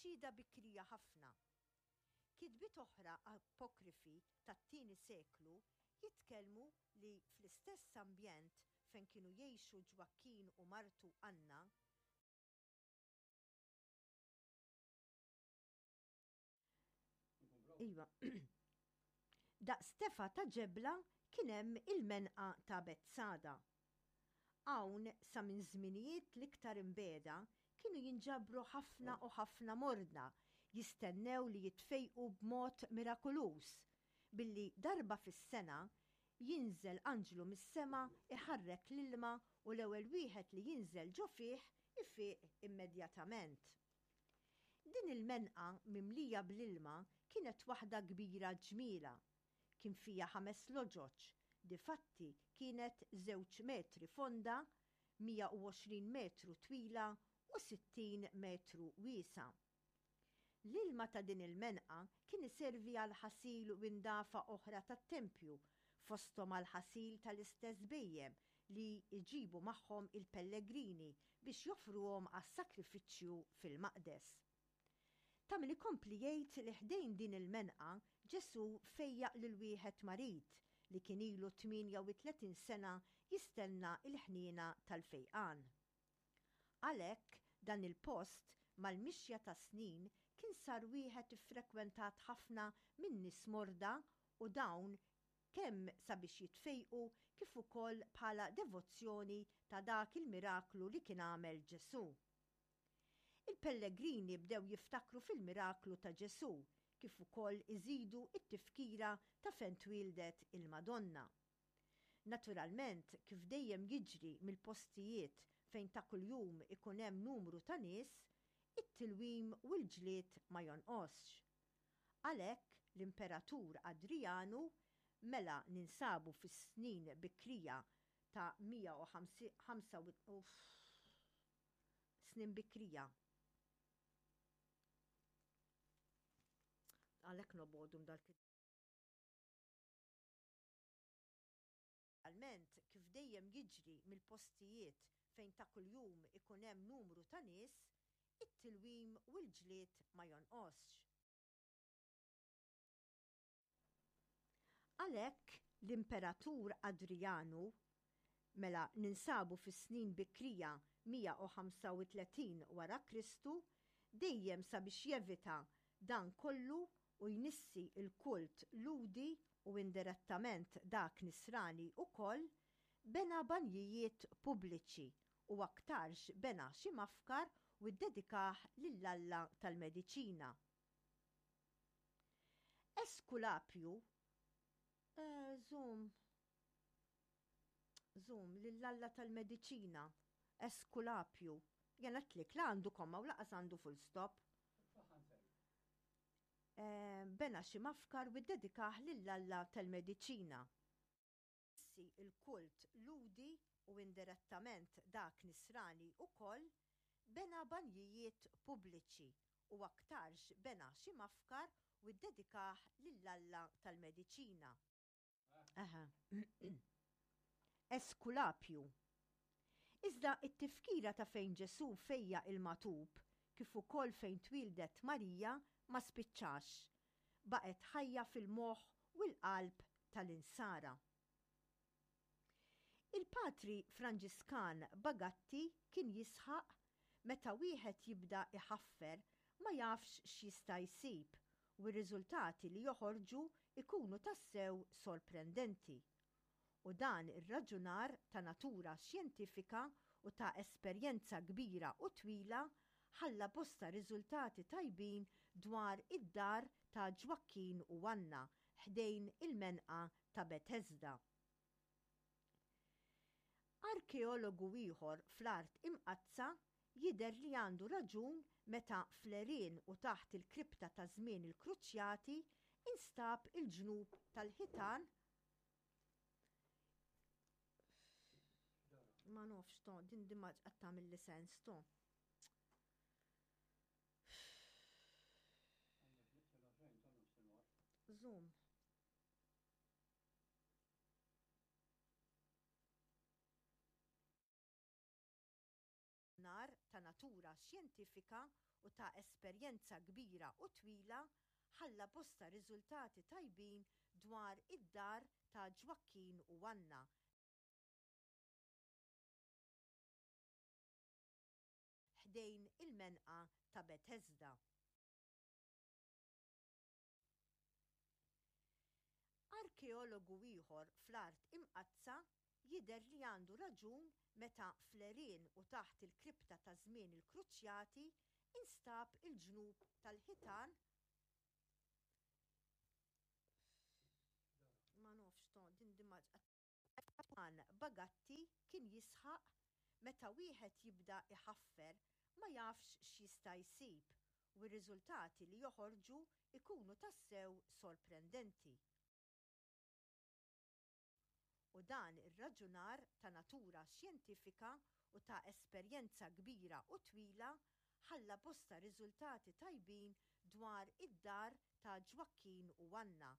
xhieda bikrija ħafna. Kitbiet oħra apokrifi tat-tieni seklu jitkellmu li fl-istess ambjent fejn kienu jgħixu Ġwakkin u martu Anna, Iva. Daqs tefa ta' ġebla kien hemm il-menqa ta' Betsada. Hawn sa minn żminijiet l-iktar imbiegħda kienu jinġabru ħafna u ħafna morda jistennew li jitfejqu b'mod mirakuluż billi darba fis-sena jinżel anġlu mis-sema iħarrek l-ilma u l-ewwel wieħed li jinżel ġo fih ifiq immedjatament. Din il-menqa mimlija bl-ilma kienet waħda kbira ġmielha. Kien fiha ħames loġoġ, difatti kienet żewġ metri fonda, 120 metru twila u 60 metru wiesgħa. L-ilma ta' din il-menqa kien iservi għal ħasil u indafa oħra tat-tempju, fosthom għall-ħasil tal-istess bhejjem li jġibu magħhom il-pellegrini biex joffruhom għas-sagrifiċċju fil-maqdes. Ta' min ikompli jgħid li ħdejn din il-menqa Ġesù fejjaq lil wieħed marid li kien ilu 38 sena jistenna l-ħniena tal-fejqan. Għalhekk, dan il-post, mal-mixja tas-snin kien sar wieħed iffrekwentat ħafna minn nies morda u dawn kemm sabiex jitfejqu kif ukoll bħala devozzjoni ta' dak il-miraklu li kien għamel Ġesù. Il-pellegrini bdew jiftakru fil-miraklu ta' Ġesù kif ukoll iżidu t-tifkira ta' fejn twieldet il-Madonna. Naturalment, kif dejjem jiġri mill-postijiet fejn ta' kuljum ikun hemm numru ta' nies, it-tilwim u l-ġlied ma jonqosx. Għalhekk, l-Imperatur Adrijanu, mela ninsabu fis-snin bikrija ta' 105 snin bikrija. Għalhekk nobogħdu dal Naturalment, kif dejjem jiġri mill-postijiet fejn ta' kuljum ikun hemm numru ta' nies, it-tilwim u l-ġlied ma jonqosx. Għalhekk, l-Imperatur Adrijanu, mela ninsabu fis-snin bikrija 135 wara Kristu, dejjem sabiex jevita dan kollu u jnissi l-kult Lhudi u indirettament dak Nisrani wkoll, bena banjijiet pubbliċi u aktarx bena xi mafkar u ddedikah lill-alla tal-mediċina. Eskulapju, żomm, żomm, lill-alla tal-mediċina, Eskulapju. Jien għedtlek la għandu komma u laqas għandu full stop. Bena xi mafkar u ddedikah lill-alla tal-mediċina. Issi l-kult Lhudi u indirettament dak Nisrani wkoll, bena banjijiet pubbliċi u aktarx bena xi mafkar u ddedikah lill-alla tal-mediċina. Aha. Eskulapju. Iżda t-tifkira ta' fejn Ġesù fejjaq il-magħtub, kif ukoll fejn twieldet Marija, ma spiċċax. Baqgħet ħajja fil-moħħ u l-qalb tal-Insara. Il-Patri Franġiskan Bagatti kien jisħaq meta wieħed jibda jħaffer ma jafx x'jista' jsib u r-riżultati li joħorġu jkunu tassew sorprendenti. U dan ir-raġunar ta' natura xjentifika u ta' esperjenza kbira u twila ħalla bosta riżultati tajbin dwar id-dar ta' Ġwakkin u Anna ħdejn il-menqa ta' Betesda. Arkeologu ieħor fl-Art Imqaddsa jidher li għandu raġun meta fl-għerien u taħt il-kripta ta' żmien il-Kruċjati instab il-ġnub tal-ħitan Ma nafx to, din din ma qed tagħmilli sens to. Zoom. Nar ta' natura. natura xjentifika u ta' esperjenza kbira u twila ħalla bosta riżultati tajbin dwar id-dar ta' Ġwakkin u Anna ħdejn il-menqa ta' Betesda. Arkeologu ieħor fl-Art Imqaddsa jidher li għandu raġun meta fl-għerien u taħt il-kripta ta' żmien il-Kruċjati instab il-ġnub tal-ħitan Ma nafx to, din din ma Juan Bagatti kien jisħaq meta wieħed jibda jħaffer ma jafx x'jista' jsib u r-riżultati li joħorġu jkunu tassew sorprendenti. U dan ir-raġunar ta' natura xjentifika u ta' esperjenza kbira u twila ħalla bosta riżultati tajbin dwar id-dar ta' Ġwakkin u Anna.